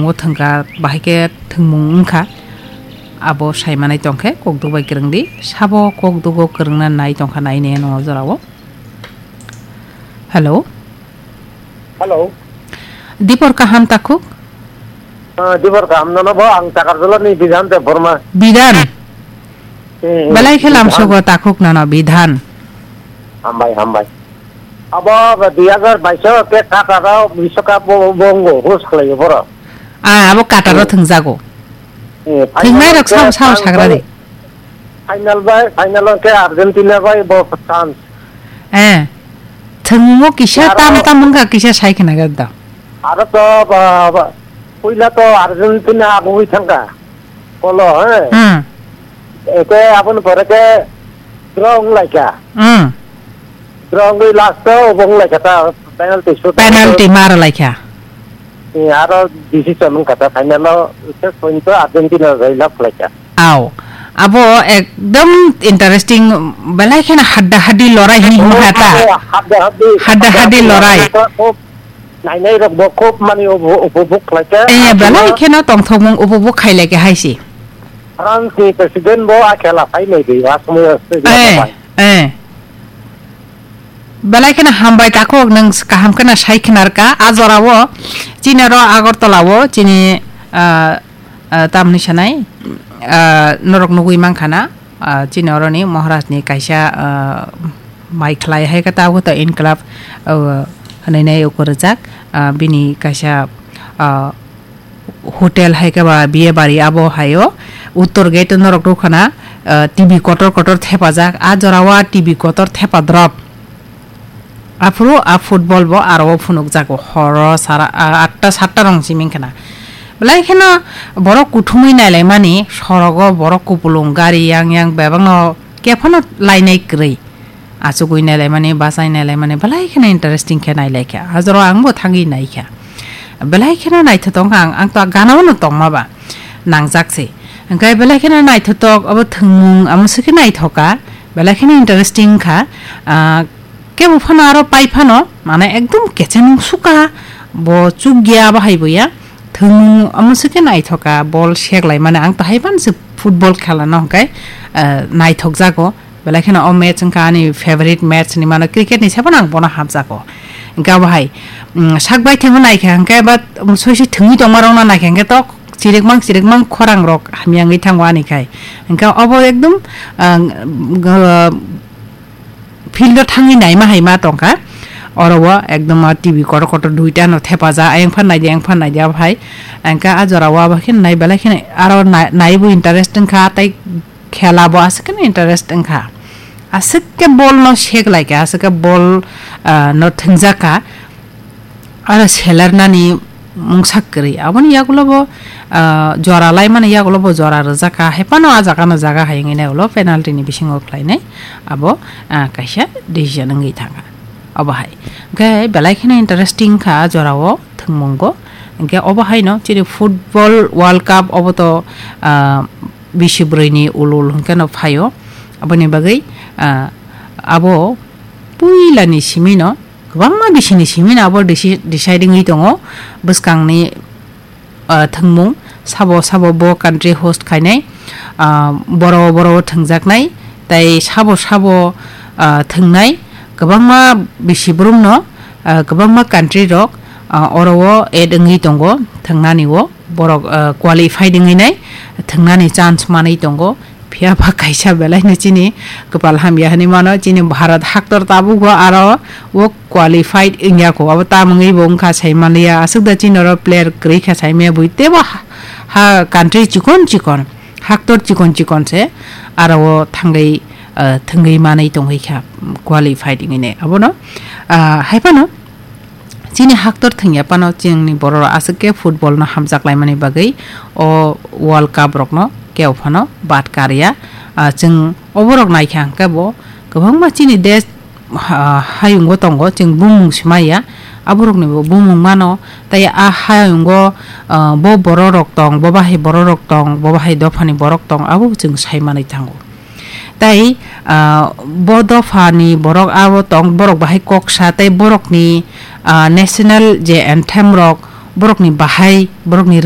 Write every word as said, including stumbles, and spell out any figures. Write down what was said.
Bo thwngkha, bahai khe thwngmung wngkha. Abo sai manai tongkhe kokduk bai kwrwngdi. Sabo kokdugo kwrwngna nai tongkha nai ne no jorao. Hello. Hello. Dipor kaham takhuk? Ah, Dipor kaham nono bo, ang Takarjala ni Bidhan Debbarma. Bidhan? Hmm, Belai khe Bidhan. Lamsogo takhuk nono Bidhan. Hambai, hambai. Abo dui hajar bais o ke Qatar o Biswakap bo, bo wngbo host khlaio borok. Ah, abo Qatar o Hmm. thwngjago. Hmm, Thwngnai final rok ke sao sao Tang sagra de. Final bai, final o ke Argentina bai bo France. Eh. Thwngmo kisa Aro tam tam wngkha kisa sai khna ga da. Aro to ba, ba, puila to Argentina agugwi thangkha. Kolo, eh. Hmm. Eke aboni pore ke draw wnglaikha. Hmm. Draw wngwi last o obo wnglaikha ta penalty shoot. Penalty mara laikha. Eh, aro decision wngkha ta final o last point o Argentina rwlap khlaikha. Aw, abo ekdom interesting, belai kheno hadda haddi lorai hwnwi himo kha ta. Oh, hadda haddi, Hadda haddi lorai. Khub nainai rok bo khub mani upo-, upobhog khlai kha. Eh, Aswk belai kheno tongthokmung upobhog khai lai kha hai se. France ni president bo a khela phai nai di, aswk Eh, bai. eh. Belai kheno hambai takhuk, nwng kaham kheno sai khnar kha. A jora o chini ro Agartala o chini, ah, ah, tamni sanai, ah, norok nugwi mankha na, ah, chini oroni Maharaj ni kaisa, ah, mai khlai hai khe tabuk to Incalab, ah, hwnwi nai ukur rijak, ah, bini kaisa, ah, hotel hai khe ba biye bari abo hai o Uttor gate norok rw khana, ah, T V kotor kotor thepajak, a jora o a T V kotor thepa drop. Aphuru a football bo aro o phunukjago horo sara, a, atta satta rong simi wngkha na. Belai kheno borok kuthumwi nailaimani sorogo borok kupulung gari yang yang bebakno kephano lainai kwrwi. Achugwi nailaimani, bachai nailaimani belai kheno interesting khe nailaikha. Hajoro angbo thangwi naikha. Belai kheno naithotok wngkha ang, ang to ganao no tongma ba nangjak se. Hwnkhe belai kheno naithotok abo thwngmung amo se khe naithoka. Belai kheno interesting wngkha. Ah, Kebo phano aro pai phano, mane ekdom kechenung suka, bo chukya bahai bo ya, thwngmung amo se khe naithoka, bol seklai mane ang to hai phano se football khela no hwnkhe, eh, naithok jago, belai kheno o match wngkha ani favorite match hinwi mano, cricket ni se phano ang bono hamjago. Hwnkhe abo hai, mm, sak baithangno naikha hwnkhe ba, um, soi soi thwngwi tongma rokno naikha hwnkhe to chirikmang chirikmang khorang rok hamya wngwi thango ani khai. Hwnkhe obo ekdom, ah, g-, field o thangwi naima hai ma tongkha. Oro o ekdom o T V kotor kotor duita no thepajak, ayang phan naidi, ayang phan naidi, abo hai. Hwnkhe a jora o abo khe nai belai kheno aro na-, naibo interest wngkha, tei khela bo aswk kheno interest wngkha. Aswk khe ball no seklaikha, aswk khe ball, ah, no thwngjakha. Aro selar nani mungsa kwrwi. Aboni yagulo bo, ah, jora laimani yagulo bo jora rwjak kha. Hai phano ah jaga no jaga hai wngwi nai ulo penalty ni bisingo khlainai. Abo, ah, kaisa decision wngwi thangkha. Obo hai. Hwnkhe belai kheno interesting kha ah jora o thwngmungo. Hwnkhe obo hai no chini football World Cup obo to, ah, bisi brwi ni ul ul hwnkhe no phaio. Aboni bagwi, ah, abo puila ni simi no Kwbangma bisini simi no abo deci-, decide wngwi tongo bwskangni, ah, thwngmung, sabo sabo bo country host khainai, ah, boro boro thwngjaknai, tei sabo sabo, ah, thwngnai kwbangma bisi borok no, ah, kwbangma country rok, ah, oro o add wngwi tongo thwngnani o. Borok, ah, qualified wngwi nai thwngnani chance manwi tongo. Phiya ba kaisa belai no chini kwpal hamya hinwi mano, chini Bharat haktor tabuk o aro o qualified wngya kho. Abo tamungwi bo wngkha sai manliya, aswk da chini oro player kwrwi kha sai maya bui teibo ha, ha country chikon chikon, haktor chikon chikon se aro o thangwi, ah, thwngwi manwi tongwi kha qualified wngwi nai. Abono, ah, hai phano Chini haktor thwngya phano chini borok rok aswk khe football no hamjak laimani bagwi o World Cup rok no kebo phano bad karya. Ah, chwng oborok naikha hwnkhe bo kwbangma chini desh, ah, hayungo tongo, chwng bumung swmaiya, aborok ni bo bumung mano, tei a hayungo, ah, bo borok rok tong, bo bahai borok rok tong, bo bahai dopha ni borok tong, abo chwng sai manwi thango. Tei, ah, bo dophani borok abo tong, borok bahai kok sa tei borokni, ah, national je anthem rok, borokni bahai, borokni